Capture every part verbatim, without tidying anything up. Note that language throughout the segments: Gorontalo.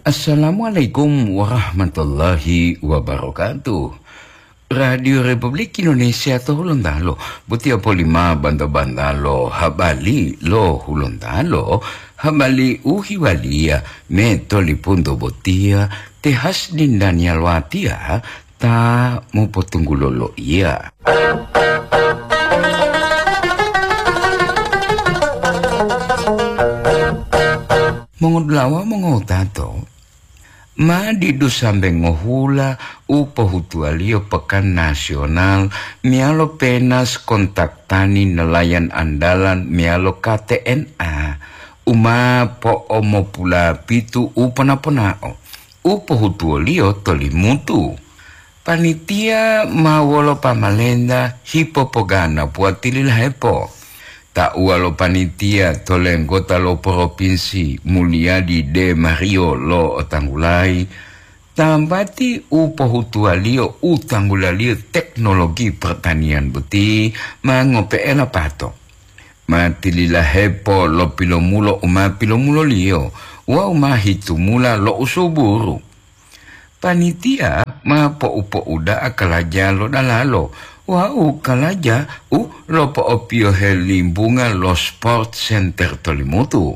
Assalamualaikum warahmatullahi wabarakatuh. Radio Republik Indonesia to Hulontalo, botiya polima banta-banta lo habali lo Hulontalo, habali u hiwaliya me tolipunto botiya te Hasdin Daniel Watia ta mopotunggulo loiya. Mongodulawa mongotato, ma didu sambe ngohula u pohutuwaliyo Pekan Nasional meyalo Penas Kontak Tani Nelayan Andalan meyalo K T N A, u ma po'omopulapitu u pona-ponao u pohutuwoliyo to Limutu. Panitia ma wolo pamalenta hipopoganapuwa tililahepo. Tauwa lo panitia to lenggota lo Propinsi Mulyadi De Mario lo'otanggulayi, tambati u pohutuwaliyo u tanggulaliyo teknologi pertanian boti ma ngope'e lapato. Ma tililahepo lo pilomulo u ma pilomuloliyo wawu ma hitumula lo usuburu. Panitia ma po'u-po'uda'a kalaja lo dalalo wawu kalaja u lopo'opiyohe limbunga lo Sport Center to Limutu.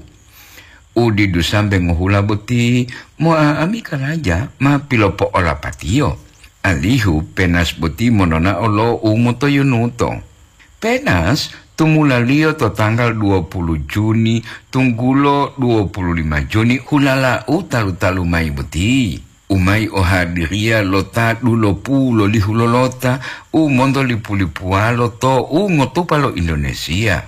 U didu sambe ngohula boti mo'a'ami kalaja ma pilopo'olapatiyo, alihu Penas boti mononao lo u motoyunuto. Penas tumulaliyo to tanggal dua puluh Juni tunggulo dua puluh lima Juni hulala u talu-talu mayi boti, u mayi ohadiriya lo ta dulopu lolihu lolota u monto lipu-lipuwalo to u ngotupa lo Indonesia.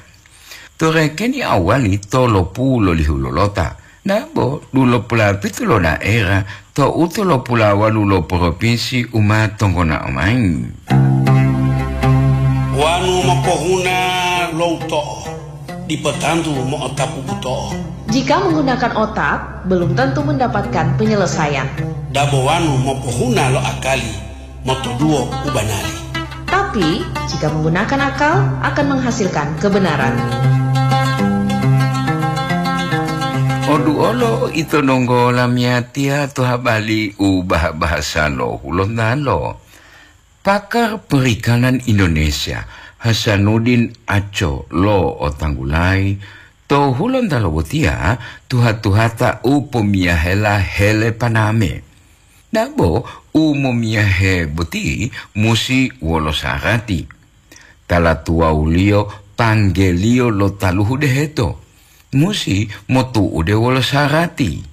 To rekeni awali tolopu lolihu lolota, nabo dulopulapitu lo daera to u tolopulawalu lo propinsi u ma tonggonao mayi. Wanu mopohuna lo uto'o, dipo tantu mo'otapu buto'o. Jika menggunakan otak, belum tentu mendapatkan penyelesaian. Dabo wanu mopohuna lo akali, motoduwo u banari. Tapi, jika menggunakan akal, akan menghasilkan kebenaran. Oduolo ito donggo lamiyatiya to habali u bah-bahasa lo Hulontalo. Pakar Perikanan Indonesia, Hasanuddin Aco lo otanggulayi, to Hulontalo botiya tuha-tuhata u pomiyahela hele paname. Dabo u momiyahe boti musi wolo sarati. Tala tuwawuliyo panggeliyo lo taluhu deheto, musi motu'ude wolo sarati.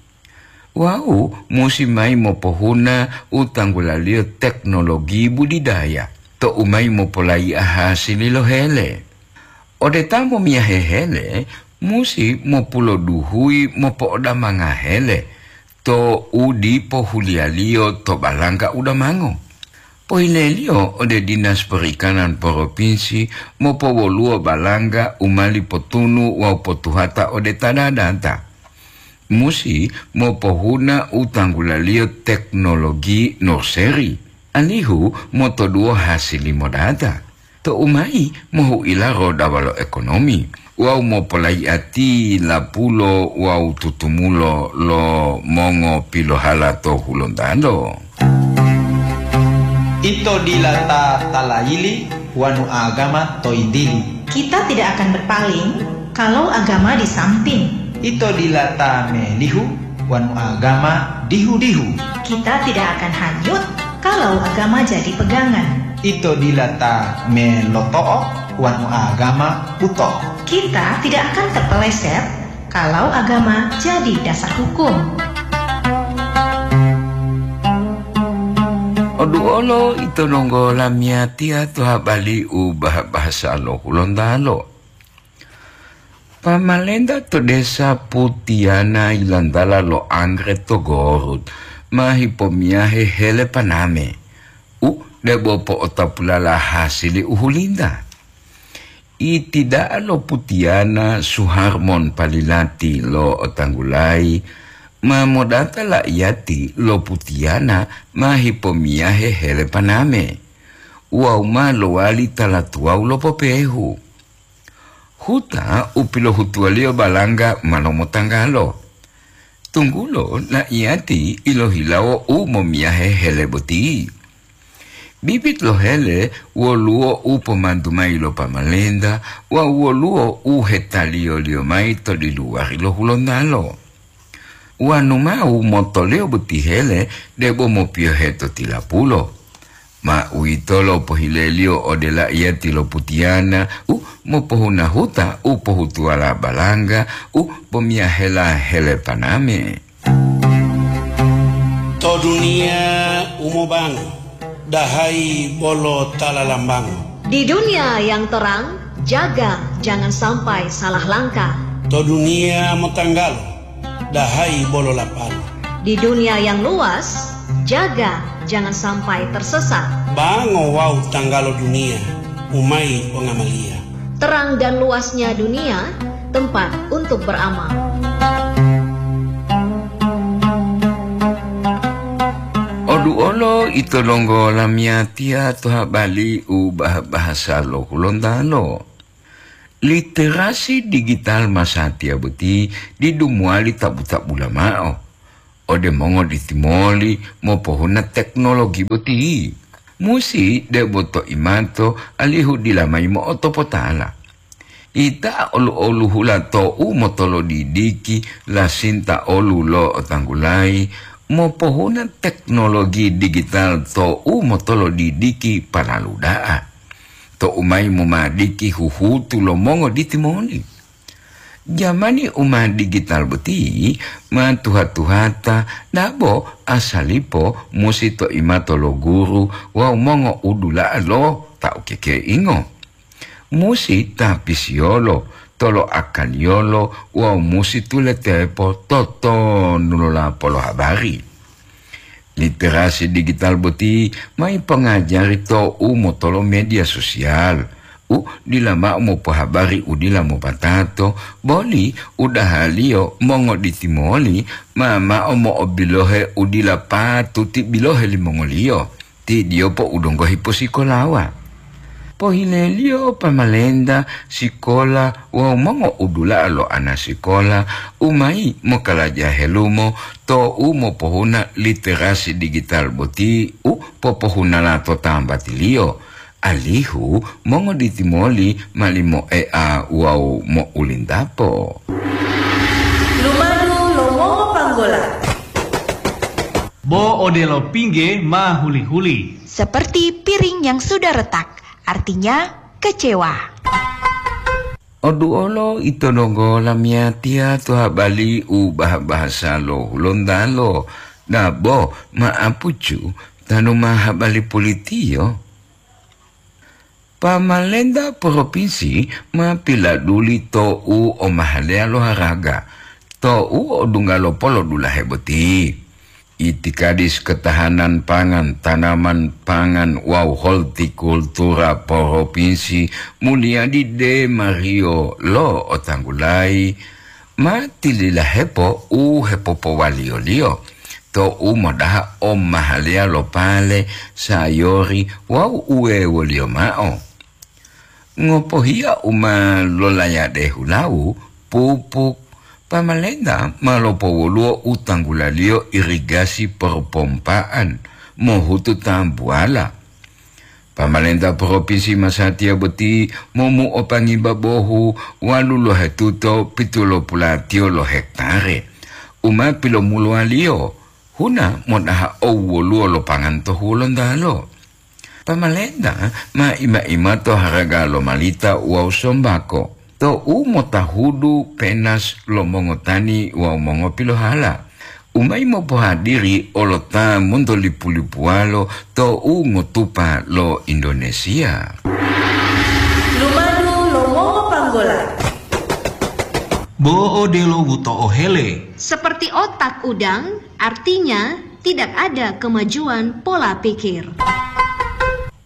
Wawu musi mayi mopohuna u tanggulaliyo teknologi budidaya to u mayi mopolayi'a hasili lo hele. Ode ta momiyahe hele, musi mopuloduhuyi mopo'odamanga hele to u dipo huliyaliyo to balangga u damango. Pohileliyo ode Dinas Perikanan Propinsi mopowoluwo balangga u ma lipotunu wawu potuhata ode ta dadata. Musi mopohuna u tanggulaliyo teknologi nursery, alihu motoduwo hasili modata. To u mayi mohu'ila rodawa lo ekonomi wawu mopolayi'ati lapulo wawu tutumulo lo mongopilohala to Hulontalo. Ito dila ta talayili wanu agama to yintili. Kita tidak akan berpaling kalau agama di samping. Ito dila ta melihu wanu agama dihu-dihu. Kita tidak akan hanyut kalau agama jadi pegangan. Ito dila ta meloto'o wanu agama buto'o. Kita tidak akan terpeleset kalau agama jadi dasar hukum. Oduolo ito donggo lamiyatiya to habali u bah-bahasa lo Hulontalo. Pamalenta to desa Putiana yilantala lo Anggre to Gorut ma hipomiyahe hele paname u debo po'otapulala hasili u hulinta. Iti da'a lo Putiana Suharmon Palilati lo otanggulayi ma modata la'iyati lo Putiana ma hipomiyahe hele paname wawu ma lowali tala tuwawu lo popehu. Huta u pilohutuwaliyo balangga ma lomotanggalo. Tunggulo laiyati ilohilawo u momiyahe hele boti. Bibit lo hele woluwo u pomantu mayi lo pamalenta wawu woluwo u hetaliyoliyo mayi to diluwari lo Hulontalo. Wanu mao motoliyo boti hele debo mopiyohe to tilapulo. Ma uwitolo pohileliyo ode laiyati lo putiyana u mopohunahuta u pohutuwala balangga u pomiyahela hele paname. To duniya u mobango, dahayi bolo ta lalambango. Di dunia yang terang, jaga jangan sampai salah langkah. To duniya motanggalo, dahayi bolo lapalo. Di dunia yang luas, jaga jangan sampai tersesat. Bango wawu tanggalo duniya, umayi pongamaliya. Terang dan luasnya dunia, tempat untuk beramal. Oduolo ito donggo lamiyatiya to habali u bah-bahasa lo Hulontalo. Literasi digital masatiya boti didu mowali tabu-tabula mao ode mongoditi moli mopohuna teknologi boti. Musi debo to imato alihu dila mayi mo'otopotala. Ita olu-oluhula to'u motolodidiki lasinta olu lo otanggulayi mopohuna teknologi digital to'u motolodidiki palalu da'a. To'u mayi momadiki huhutu lo mongoditi moli. Jamani u ma digital boti ma tuha-tuhata dabo asalipo musi to imato lo guru wawu mongo'udula'a lo ta ukekeingo. Musi tapisiyolo, toloakaliyolo wawu musi tuletepo totonu lo lapolo habari. Literasi digital boti ma ipongajari to'u motolo media sosial u dila mao mopohabari u dila mopatato, boli udahaliyo mongoditi moli ma mao mo'obilohe u dila patuti bilohe limongoliyo. Ti diyopo u donggo hiposikolawa. Pohileliyo pamalenta, sikola wawu mongo'udula'a lo ana sikola u mayi mokalaja helumo to'u mopohuna literasi digital boti u popohunala to tambatiliyo, alihu mongoditi moli mali moe'a wawu mo'ulintapo. Lumadu lo mongopanggola. Bo odelo pingge ma huli-huli. Seperti piring yang sudah retak, artinya kecewa. Oduolo ito donggo lamiyatiya to habali u bah-bahasa lo Hulontalo, dabo ma'apucu tanu ma habali pulitiyo. Pamalenta propinsi ma piladuli to'u omahaleya lo haraga, to'u odungga lo polodulahe boti. Itikadis ketahanan pangan, tanaman pangan wawu hortikultura propinsi Mulyadi Demario lo otanggulayi ma tililahepo u hepopowaliyoliyo to'u modaha omahaleya lo pale, sayori wawu uwewoliyo mao. Ngopohiya u ma lolayade hulawu, pupuk, pamalenta ma lopowoluwo u tanggulaliyo irigasi popompa'an mohutu tambuwala. Pamalenta propinsi masatiya boti momuopangi babohu walu lohetuto pitulopulatiyo lo hektare u ma pilomuluwaliyo huna modaha owwoluwo lo pangan to Hulontalo. Pamalenta ma ima-imato haraga lo malita wawu sombako, to'u motahudu penas lo mongotani wawu mongopilohala, u mayi mopohadiri olota montolipu-lipuwalo to'u ngotupa lo Indonesia. Lumadu lo mongopanggola. Bo odelo buto'o hele. Seperti otak udang, artinya tidak ada kemajuan pola pikir.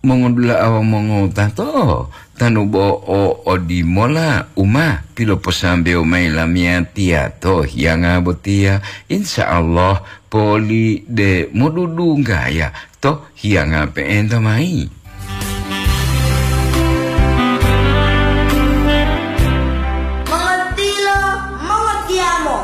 Mongodula'a wawu mongowutato, tanu bo o odimola u ma piloposambewo mayi lamiyatiya to hiyanga botiya, insya Allah poli de modudunggaya to hiyanga pe'enta mayi.